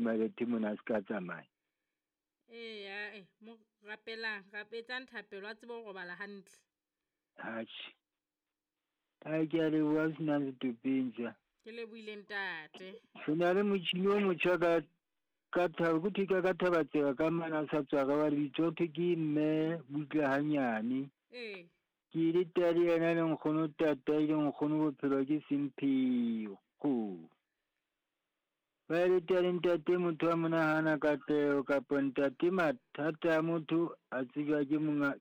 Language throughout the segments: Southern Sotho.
Malete mona a se ka tsamaya. Ee, ae, mo rapelang, etsang thapelo a tsebe ho robala hantle. Atjhe. Ai ke a leboha ho senang setopeng tsa. Ke lebohile ntate. Re na le motjhini o motjha ka ka thaba ko thwe ka thaba tsela ka mana a sa tswa re wa lebitso ho thwe ke mme butle hanyane. Ee. Ke ile tea le yena le nkgono tata ile nkgono bophelo ke semphego. Ba ile tea le ntate motho wa monahana katleho kapa ntate mathata a motho a tsejwa ke monga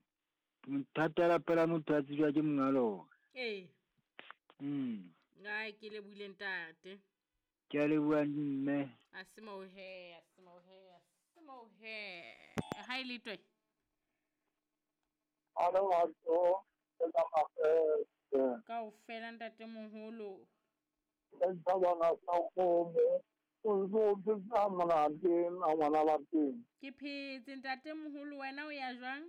mathata a lapa la motho a tsejwa ke monga lona. Ee. Ai ke lebohile ntate. Ke a leboha mme. A se moo he, a se moo he, a se moo he. Ha e le twe. Kaofela ntate moholo. Ke phetse ntate moholo wena o ya jwang?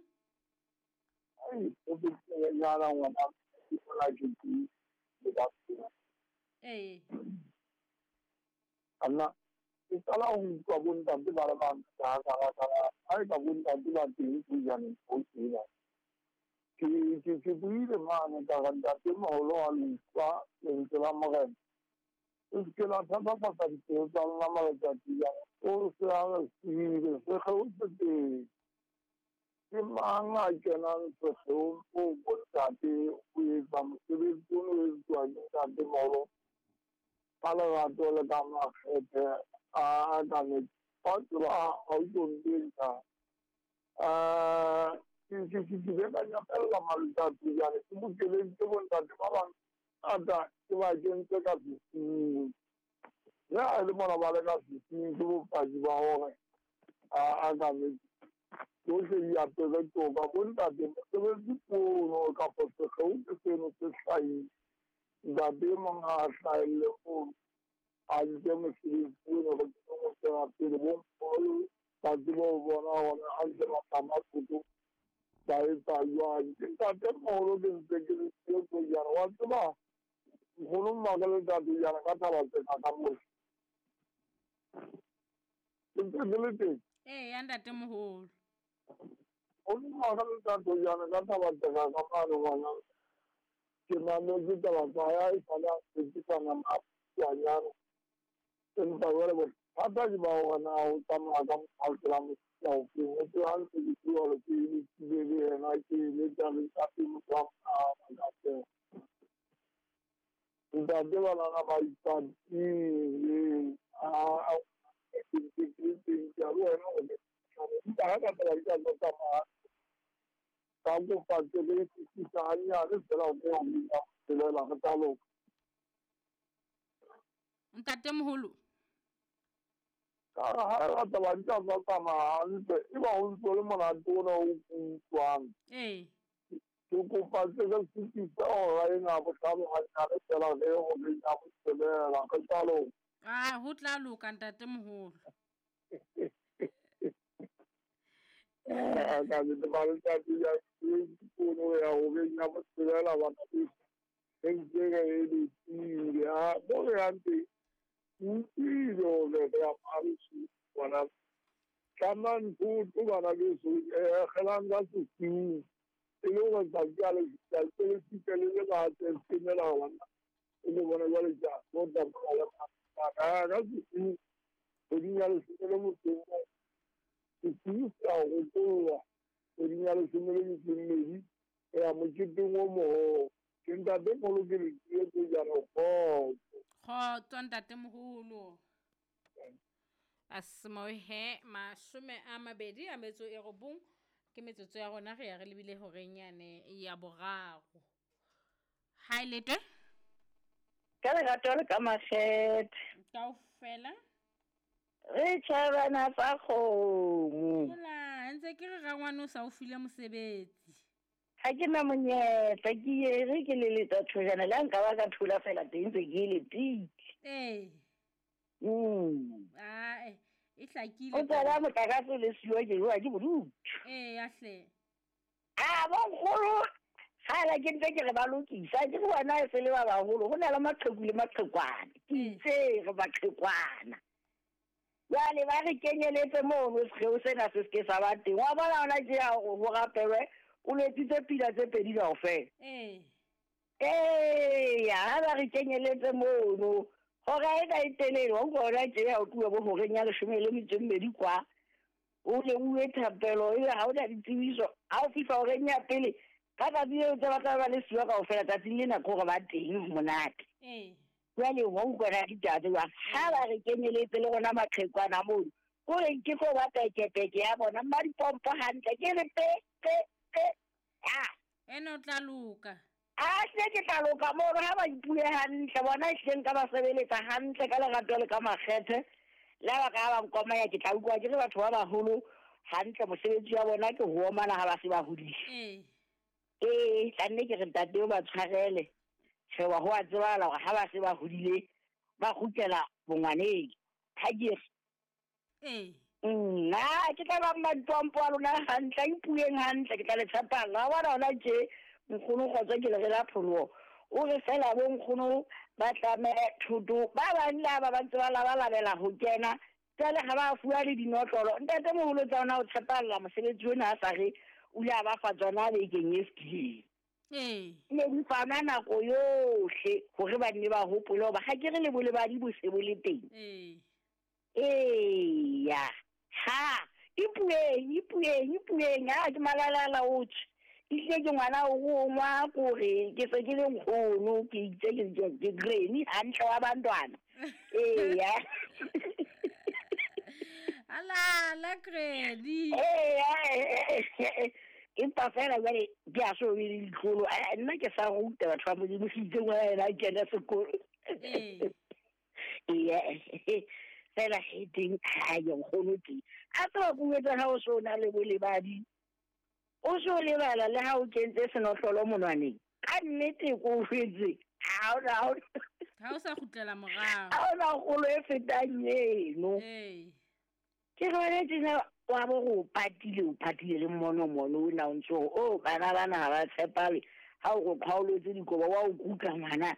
Ee. Anna ke qala ho utlwa bontate ba le bangata ha e ka bontate ba teng pujaneng ho tsena. Ke buile mane ka re ntate moholo wa le utlwa lentswe la Morena. E se ke la thatafatsa dipelo tsa lona matsatsi ana. O se a re siile sekgeo se teng. Ke mang a kenang sekgeong moo bontate ho etsa mosebetsi ono o etsuwang ke ntate moholo ka lerato le ka makgethe a ka wa tseba ha o tlo ntentsha. Ke ile ka nyamella matsatsi jwale ke bokeleditse bontate ba bangata ke ba kentse ka sesiung. Le ha e le mona ba le ka sesiung ke bopaki ba hore a ka tsohle di apere toka. Bontate mosebetsi ono kapa sekgeo ke seno se hlahile. Ntate e mong ha a hlahelle mono a nke mosebetsi ono re tsebe ho tswela pele bo nkgono ba tsebe ho bona hore ha ntse ba tlama thoto ba etsa jwang. Ke ntate moholo ke ntse ke le siyo tsejana wa tseba nkgono mmaka le ntate jana ka thaba tsena ka mose. Ke ntse ke le teng. Ee, ya ntate moholo. Nkgono mmaka le ntate jana ka thaba tsena ka mane ngwana. Ke mametse taba tsa hae e sale a tshepisa nama a phutswanyana. Empa jwale bothata ke ba hore na o tsamaya ka mokgwa la mofuta ofeng. O tseba ha ntse ke bua hore ke eletsile le yena ke eletsa le ntate motho wa monahana ka. Ntate banana ba ipatile a ke ntse ke le teng ke a le wena hore empa ha ka taba di ka tlo tsamaya ka kopa tsebe e fetisa hanyane fela ho ke ho tshelela re tla loka. Ntate moholo. Ka re ha re taba di ka tlo tsamaya hantle e ba ho ntso le monate ona o utlwang. Ee. Ke kopa tsebe fetisa hora ena bohlano hanyane fela re ho re ya botshelela re tla loka. Ah, ho tla loka ntate moholo. Ka le ba letsatsi ya ke ya ho re ya botshelela bana beso. Re ntse re letile ha mo re yang teng utlwile hore re ya Paris bona. Tlamang thoto bana beso kgelang ka sesiung e le hore tsatsi ha le fihla le le fihle le le bate semela bana o le bona jwale ja mo tsamaya le ka sesiung kgweding ya leshome le motso o mong. Sesiu se a rokollwa kgweding ya leshome le metso e mmedi ho ya moketeng o moholo. Ke ntate moholo ke le tsie jana kgotso. Kgotso ntate moholo. Asmohe 29 ke metsotso ya rona re ya re lebile horeng yane ya boraro. Ha e letwe? Ka lerato le ka makgethe. Kaofela. Re tjhabana tsa kgomo. Hola, ntse ke re rangwane o sa o file mosebetsi. Ha ke na monyetla ke ye re ke le letsa thojana le nka ba ka thola fela teng ntse ke letile. Ee. Ae, e hlakile. O tsala motlakase le siwa ke jowa ke bodutu. Ee, ya hle. A bonkgolo ga la ke ntse ke re ba lokisa ke re wena e se le ba baholo ho na le maqheku le maqhekwana. Ke itse re maqhekwana. Jwale ba re kenyeletse mono sekgeo sena se seke sa ba teng. Wa bona hona tje ya hore ho rapelwe o letsitse pina tse pedi kaofela. Ee. Eya, ha ba re kenyeletse mono. Hora ena e telele, wa utlwa hona tje ha o tluwa bo horeng ya leshome le metso e mmedi kwa. O leuwe thapelo ebe ha o na ditsebiso. Ha o fihla horeng ya pele, ka tsatsi leo tse ba tla ba le siwa kaofela tsatsing lena ke hore ba teng ho monate. Ee. Jwale wa utlwa na ditaba tse jwang? Ha ba re kenyeletse le rona maqhekwana mono. Kore ke tlo ba pekepeke ya bona, mma dipompo hantle ke re pe pe pe. Ah. Ene o tla loka. A hle ke tla loka mono ha ba ipue hantle bona ehlile nka ba sebeletsa hantle ka lerato le ka makgethe. Le ha ba ka ba nkomanya ke tla utlwa ke re batho ba baholo hantle mosebetsi wa bona ke ho omana ha ba se ba hodile. Ee. Ee, tla nne ke re ntate o ba tshwarele. Tjhe wa ho a tsebahala hore ha ba se ba hodile ba kgutlela bongwaneng. Ha ke re Ee. Nna ke tla ba mmampampo a lona hantle, a ipueng hantle, ke tla le tshepalla. Wa bona hona tje nkgono Kgotso ke le re la pholoho. O re fela bo nkgono ba tlame thoto, ba bang le ba ba ntse ba labalabela ho kena, jwale ha ba fuwa le dinotlolo. Ntate moholo tsa ona o tshepalla mosebetsi ona a sa re o ile a ba fa tsona bekeng e fetileng. Ee. Ne di fanwa nako yohle hore ba nne ba hopole hoba ha ke re le bolebadi bo se bo le teng. Ee. Eya. Ha. Ipueng, ipueng, ipueng. Ha ke malalala o tjhe. Ehlile ke ngwana o rongwa kore ke se ke le nkgono ke itse ke ke ke granny hantle wa bantwana. Eya. Alala granny. Eya. Empa fela jwale ke a so be le ditlolo. Nna ke sa ruta batho ba Modimo se itse ngwana yena a kena sekolo. Ee. Eya, fela he teng ha ye nkgono teng. A tseba ko etsa ha o so na le bolebadi. O so lebala le ha o kentse senotlolo monwaneng. Ka nnete ko jwetse. Ha ona ha ona. Ha o sa kgutlela morao. Ha ona kgolo e fetang eno. Ee. Ke re wena tjena wa bo re o patile o patile le mmono mono o na o ntso re o bana bana ha ba tshepale ha o re qhwaolotse dikobo wa o kuka ngwana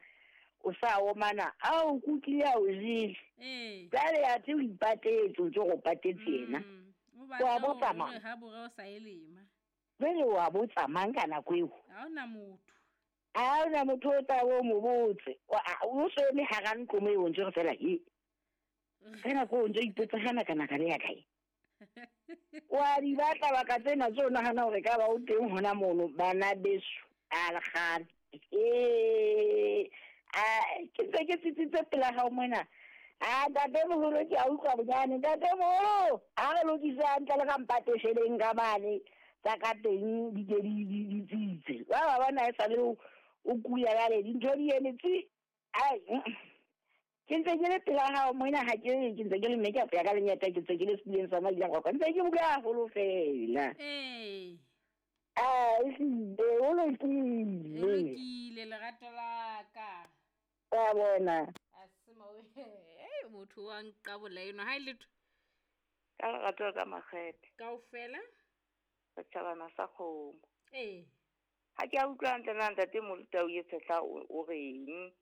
o sa omana a o kukile a o jele. Ee. Jwale athe o ipatetse o ntso re o patetse yena. O Wa batla botsa hore mang? ha bore o sa e lema. Jwale wa botsa mang ka nako eo? Ha hona motho. Ha hona motho o tla o mo botse. O so eme hara ntlo moo o ntse re fela he. Ka nako o ntse o ipotsa ha naka naka le ya kae. Wa di batla baka tsena tse o nahana hore ka ba o teng hona mono bana beso a lekgale. Ee, a ke ntse ke tsitsitse pela hao mona. A ntate moholo ke a utlwa bonyane ntate moholo ha re lokise hantle le ka mpatesheleng ka mane tsa ka teng di ke di tsitse. Wa ba bona e sale o kula jwale dintho di eme tsi. Ai, ke ntse ke le pela hao mona ha ke ke ntse ke le makeup ya ka lenyata ke ntse ke le setuleng sa Madila Kwakwa ntse ke bua haholo fela. Ee. A ehlile o lokile. O lokile lerato la ka. Wa bona. A se mo eh motho wa nqabola eno ha e letho. Ka lerato ka makgethe. Kaofela. Setjhabana sa kgomo. Ee. Ha ke a utlwa hantle na ntate Molutau e tshehla o reng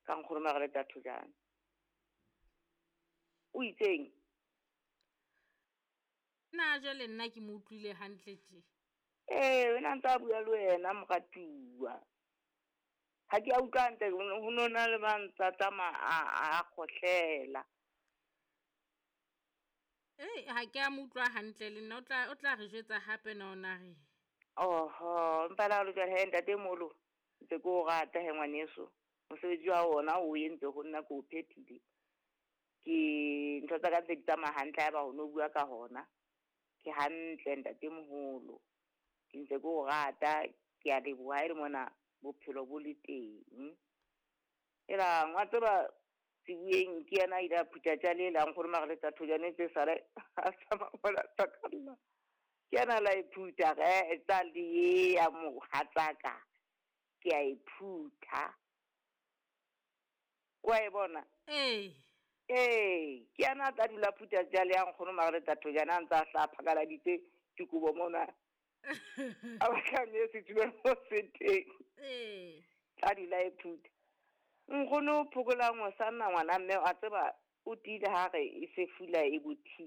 ka nkgono Margaret Thojane. O itseng? Na jwale nna ke mo utlwile hantle tje. Ee, wena ntse a bua le wena moratuwa. Ha ke a utlwa hantle ho no na le ba ntsa tsamaya a kgohlela. Ee, ha ke a mo utlwa hantle le nna o tla re jwetsa hape na ona re. Oho, empa le ha o le jwalo he ntate Molo, ntse ke o rata he ngwaneso. Mosebetsi wa ona o entse ho nna ke o phethile. Ke ntho tsa ka ntse di tsamaya hantle haeba ho no bua ka hona. Ke hantle ntate moholo. Ke ntse ke o rata, ke a leboha ha e le mona bophelo bo le teng. Ela ngwa tseba Sebueng ke yena a ile a phutha tjale la nkgono Margaret Thojane tse sale a tsamaya mola tsakalla. Ke yena la e phutha ge tsa le ya mohatsaka. Ke a e phutha. Wa e bona? Ee. Ee, ke yena a tla dula phutha tjale ya nkgono Margaret Thojane a ntse a hla phakaladitse dikobo mona. A batla mme setulong mo se teng. Ee. Tla dula e phutha. Nkgono phokolang o sa nna ngwana mme a tseba O tiile ha re e se fula e bothile.